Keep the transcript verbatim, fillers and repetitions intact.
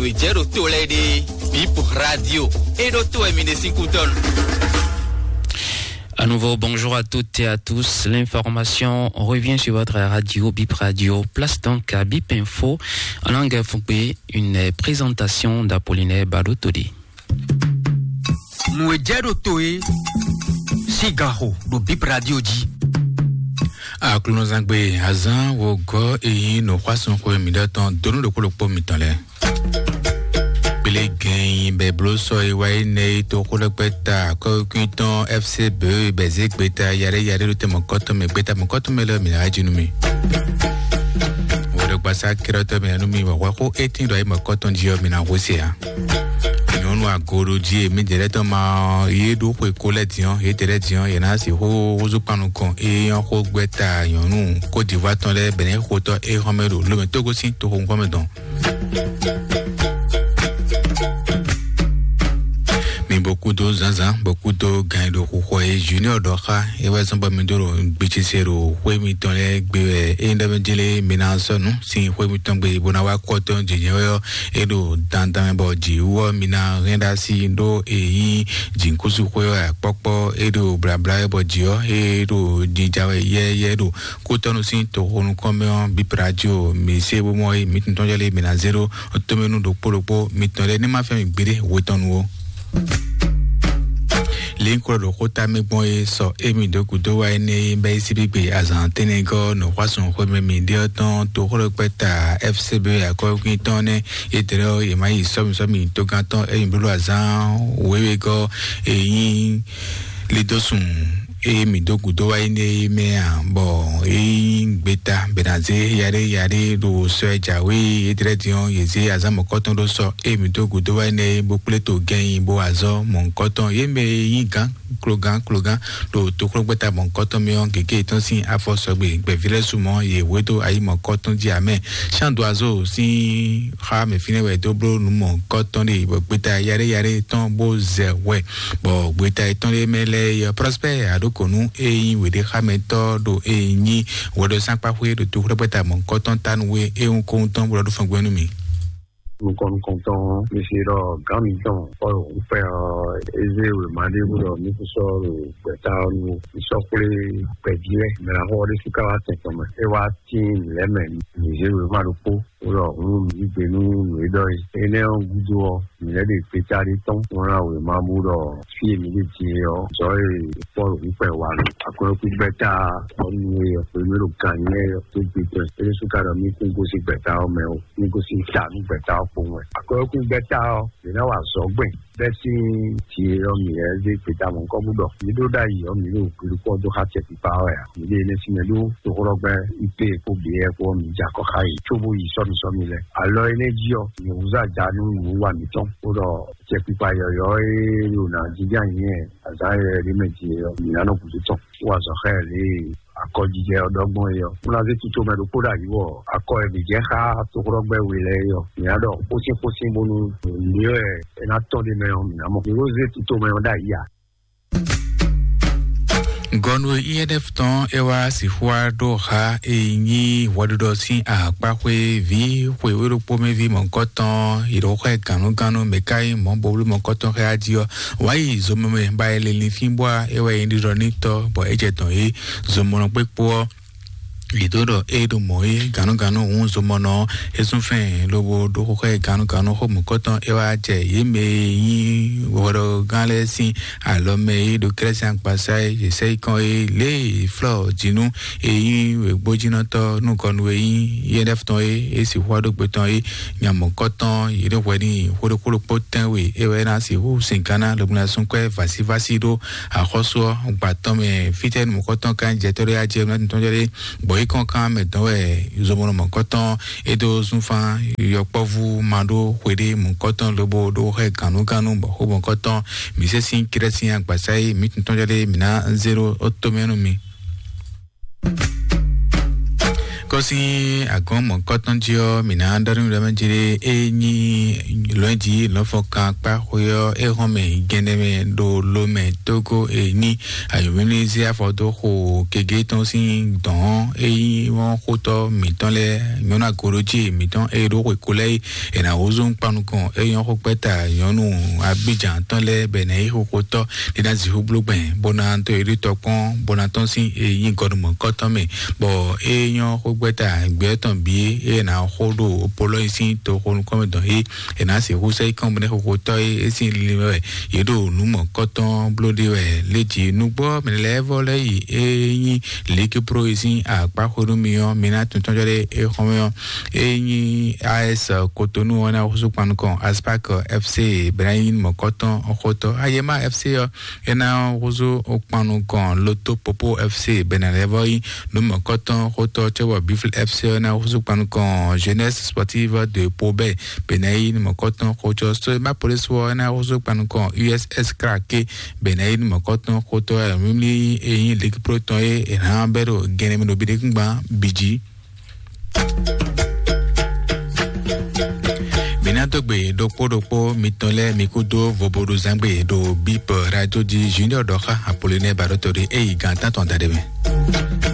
Jɛ ɖo to lɛ ɖe, Bip Radio. E ɖo to wɛ mi ɖe sín kútɔnu. À nouveau, bonjour à toutes et à tous. L'information revient sur votre radio, Bip Radio. Place donc à Bip Info, en langue fougbé, une présentation d'Apollinaire Badotodi. Nǔ e jɛ ɖo to e sín ganxo ɖo Bip Radio jí. Aklúnɔzangbe azán wo gɔ́ e nyí nǔxwásúnxwe mǐɖɔtɔn donu ɖokpó ɖokpó mitɔn lɛ́ɛ. Kplé gɛn bɛ bló sɔ e wá yi nɛ yi toxó ɖɛkpɛ ta akɔ́kúntɔn F C B bɛ zé gbeta yaɖé yaɖé ɖo tɛmɛ kɔtɔn mɛ gbeta mɛ kɔtɔn mɛ lɛ mǐ ná jí nú mi. Wodɔgbasa kérɔtɔ mǐ ná nú mi wɔ hwɛ xó étín ɖɔ yi mɛ kɔtɔn jí ɔ mǐ ná hó se ǎ. Nyɔnu agoɖojí e mǐdɛɛ lɛ́ɛ tɔn ma yé ɖó xwe kó lɛ́ din ɔ́, yě tɛ lɛ́ din ɔ́, yě ná sixú húzú kpan nukɔn e nyɔ́ xó gbɛ́ta nyɔ̌nu Côte d'Ivoire tɔn lɛ́ɛ bɛ̌ nɛ́ xotɔ́ é xɔ́mɛ ɖo lomɛ tógó sín toxo ŋkɔ́mɛ dɔn. Mi bó kúdó zǎnzǎn bó kúdó gan e ɖo xuxɔ e Junior ɖɔ xá é wɛ zɔ́n bɔ mi dó ɖo gbicese ɖo xwé mitɔn lɛ́ɛ gbe wɛ é nyí ɖɔ mɛ jélé mi ná sɔ́ nǔ sín xwé mitɔn gbe bó ná wá kɔ́tɔn jǐjɛ wɛ ɔ́ é ɖo dandan mɛ bɔ jǐ wú ɔ́ mi ná hɛn ɖó así ɖó e nyí jǐnkúsú xwé ɔ́ akpɔ́kpɔ́ é ɖo blabla wɛ bɔ jǐ ɔ́ é ɖo jija wɛ yɛ́yɛ́ ɖo kútɔ́nú sín toxonukɔn mɛ ɔ́ bíbradio mi sé bó mɔ é mi tuntɔn jɔ lé mi ná zé ɖó tomɛnu ɖokpó ɖokpó mitɔn lɛ́ɛ ní ma fɛ́n mi gbeɖé hwetɔnnu ó. Linklo ɖo xóta mɛ gbɔn e sɔ émi dó gúdo wá énɛ́ e bɛ́ yí síbígbe azǎn tɛ́nɛgɔ́ nɔxwásɔn xwémɛ mǐ ɖe ɔ́ tɔn toxóɖɔkpɛ́ta F C B akɔ́wékwín tɔn nɛ́. Yétɛ́lɛ́ ɔ́, yě má yi sɔ́mi sɔ́mi tógántɔ́ émi bló azǎn wěwé gɔ́ e nyí lidósun e mǐ dó gǔdo wá yi nɛ́ é mɛ ǎ, bɔ é nyí gbeta bɛ̌nazé yaɖé yaɖé ɖo sɔ e jǎwe é dlɛ́ din ɔ́, yě zé azǎn mɔ̌kɔtɔn ɖó sɔ e mǐ dó gǔdo wá yi nɛ́ é, bó kplé to gɛnyi bó azɔ́ mɔ̌hunkɔtɔn. Yě mɛ e nyí gǎn klogán klogán ɖo toxlɔ́gbɛ́ta mɔ̌hunkɔtɔn mɛ ɔ́, gěgé yětɔn sín afɔ sɔgbe. Gbɛ̌ví lɛ́ɛ su mɔ̌, yě hwedó ayi mɔ̌hunkɔtɔn jí ǎ mɛ. Sándoazó sín xá mɛ fínɛ́ wɛ é dó bló nǔ mɔ̌hunkɔtɔn ɖe, bɔ gbeta yaɖé yaɖé tɔn bó zɛ hwɛ, bɔ gbeta yětɔn ɖé mɛ lɛ́ɛ é ɔ́, Prospère Aɖokonu e nyí wěɖéxámɛtɔ́ ɖo e nyí hwɛɖɔsánkpaxwé ɖo toxlɔ́gbɛ́ta mɔ̌hunkɔtɔn tánu é wún kówún tɔn bó ɖɔ ɖó fɔngbɛ́n nú mì. Nukɔn nukɔntɔn, mi se ɖɔ gǎn mitɔn Pɔ́lu ŋkpɛ ɔ́, é zé wěma ɖé bó ɖɔ mí kún sɔ́ ɖo gbɛ̌ta ɔ́ nu ó. Mí sɔ́ xwlé gbɛ̌ví lɛ́ɛ, mɛ ná xɔ ɔ́ ɖésú ká wá tɛn tɔn mɛ. É wá tíin nǔ lɛ́ɛ mɛ, mǐ zé wěma ɖokpó, bó ɖɔ hǔn mǐ yí gbe nú nǔ e ɖɔ é. Énɛ́ ɔ́ gúdo ɔ́, mǐ lɛ́ ɖe gbeta ɖé tɔ́n, bó ná wěma bó ɖɔ fí e mǐ ɖe din é ɔ́, zɔ̌ e Pɔ́lu ŋkpɛ wa nú akwɛ́kú gbɛ́ta ɔ́ nú é ɔ́, hwenu e ɖo gǎn nyí é ɔ́, tó gbe tɔn. É ɖésú ka ɖɔ mí kún gosín gbɛ̌ta ɔ́ mɛ ó. Ní gosín ta nú gbɛ̌ta ɔ́ kpowun wɛ. Akwɛ́kú gbɛ́ta ɔ́, mǐ ná wa azɔ̌ gbɛn bɛ́ sín jǐ e ɔ́ mǐ lɛ́ zé gbeta mɔ̌hunkɔ́ bó ɖɔ mǐ ɖó ɖ'ayǐ ɔ́, mǐ ɖo gbiɖukpɔ́ dó xá acɛkpikpa ɔ́ wɛ ǎ. Mǐ ɖe énɛ́ sín mɛ ɖó toxóɖɔgbɛ́ I P kpó B R kpó ɔ́, mǐ jɛ akɔ xá yě cóbó yi sɔ́misɔ́mi lɛ́ɛ. Alɔ énɛ́ jí ɔ́, mǐ húzú aja nú nǔwiwa mǐtɔn, bó ɖɔ acɛkpikpa yɔ̌yɔ́ e ɖo nǎ jínjɔ́n ayǐ nyi azǎn yɔ̌yɔ́ ɖé mɛ din é ɔ́, mǐ ná nɔ gǔdo tɔn, bó wa azɔ̌ xá ɛ lě e akɔjijɛ ɔ́ ɖɔ gbɔn é ɔ́. Bó ná zé tito mɛ ɖokpó ɖo ayǐ wɔ akɔ e mǐ jɛ xá toxóɖɔgbɛ́ we lɛ́ɛ é ɔ́, mǐ ná ɖɔ xósín xósín bónú nǔ e wɛ é ná tɔ́n ɖ'é mɛ ɔ́, mǐ ná mɔ. Mǐ ko zé tito mɛ ɔ́ ɖo ayǐ ǎ. Gɔnu e I N F tɔn é wá sixú wá ɖó xa e nyí hwɛɖuɖɔ sín akpáxwé ví xwe wé ɖokpó mɛ ví mɔ̌hunkɔtɔn yi ɖo xɛ gǎnnugánnu mɛ ká nyí mɔ̌ bowlú mɔ̌hunkɔtɔn xɛ ají ɔ́, wǎ yi zomɔmɛ ba yi lilin fínbɔ́ é wɛ nyí ɖiɖɔ n'i tɔ́ bɔ é jɛ dɔ̌n é zomɔnɔ kpé kpó ɔ́. Yě dó ɖɔ é ɖo mɔ̌ é gǎnnugǎnnu hǔn zomɔnɔ ɔ́, é zún fɛ́n lobo ɖó xóxó ɛ gǎnnugǎnnu xó mɔ̌kɔtɔn é wá jɛ yě mɛ e nyí hwɛɖɔgán lɛ́ɛ sín alɔ mɛ e ɖo kɛ́lɛ́sín agbasá e yě sɛ́ yi kɔn é lě e flɔ́ jǐnú e nyí wěgbójínɔtɔ́ nukɔn nú e nyí yɛ́ɖɛ́futɔn é é sixú wá ɖó gbe tɔn é nya mɔ̌kɔtɔn yě ɖo hwɛ n'i xó ɖokpó ɖokpó tɛ́nwe é wɛ ná sixú sin gánná lobo ná sú kwɛ́ vǎsívásí ɖó axɔ́sú ɔ́ gba tɔn mɛ. Fítɛ́ nu mɔ̌kɔtɔn kan jɛ tɔ́ ɖé ajɛ mɛ tɔn jɔ ɖé bɔ yi kɔn kan mɛ dɔn wɛ zomɔnɔ mɔ̌kɔtɔn é dó zúnfán yɔkpɔ́vú ma ɖó xwe ɖé mɔ̌kɔtɔn lobo ɖó xɛ gǎnnugánnu bɔ xó mɔ̌kɔtɔn mǐ sɛ́ sín kɛ́ɖɛ́ sín agbasá e mǐ tun tɔn jɔ ɖé mǐ ná zé ɖó ó tó mɛ nú mi. Kɔ́sí agɔn mɔ̌kɔtɔn jí ɔ́, mǐ ná ɖɔ nú mi ɖɔ mɛ jí ɖé, é nyí lɔ̌nji lɔ̌nfɔkan kpá xwé ɔ́, é hɔn mɛ gɛnɛ mɛ ɖo lo mɛ tógó é nyí ayɔ̌mímí zé afɔ dó xo kegé tɔn sín dɔ̌n, é nyí wɔn xótɔ́ mǐtɔn lɛ́ɛ nyɔ́nú agorojí mǐtɔn é ɖó xwe ko lɛ́ɛ é ná wúzú kpanukɔn é nyɔ́ xó kpɛ́ta nyɔ́nú abíjan tɔn lɛ́ɛ bɛ ná yí xóxótɔ́ ɖé ná zixú bló gbɛn bó ná tó yě ɖó tɔkpɔn bó ná tɔ́n sín é nyí gɔnumɔ̌kɔtɔn mɛ. Bɔ é nyɔ́ xógbɛ́ta gbɛ́ tɔn bǐ é ná xó ɖo polɔ́ nyi sín toxonukɔn mɛ dɔn é é ná sixú sɛ yí kɔn bó ná xóxótɔ́ é é sín lili mɛ wɛ yě ɖo nǔ mɔ̌kɔtɔn bló ɖe wɛ léjì nugbó mɛ lɛ́ɛ vɔ lɛ́ yi é nyí liki pro é sín akpá xó nú mi ɔ́ mi ná tuntun jɔ ɖé é xɔn mɛ ɔ́ é nyí as kotonu ɔ́ ná xúsú kpanukɔn aspak fc bɛ́ ná nyí mɔ̌kɔtɔn xótɔ́ ayema fc ɔ́ é ná húzú kpannukɔn loto popo fc bɛnɛ lɛ́ɛ vɔ yí nú mɔ̌kɔtɔn xótɔ́ cɛ́ bɔ bifl fc ɔ́ ná húzú kpannukɔn jeunesse sportive de pobɛ bɛnɛ yí nú mɔ̌kɔtɔn xótɔ́ so ma police ɔ́ ná húzú kpannukɔn uss krake bɛnɛ yí nú mɔ̌kɔtɔn xótɔ́ mímí eyín ligue pro tɔn é è nǎ bɛ́ ɖo gɛnɛmɛ ɖo bíɖékúngban bǐ jí. Mǐ ná dó gbe ɖokpó ɖokpó mitɔn lɛ́ɛ mi kúdó voboɖuzángbe ɖo bip radio jí junior ɖɔ xá Apollinaire Baɖótɔ́ ɖé é yi gǎn tántɔn da ɖé mɛ.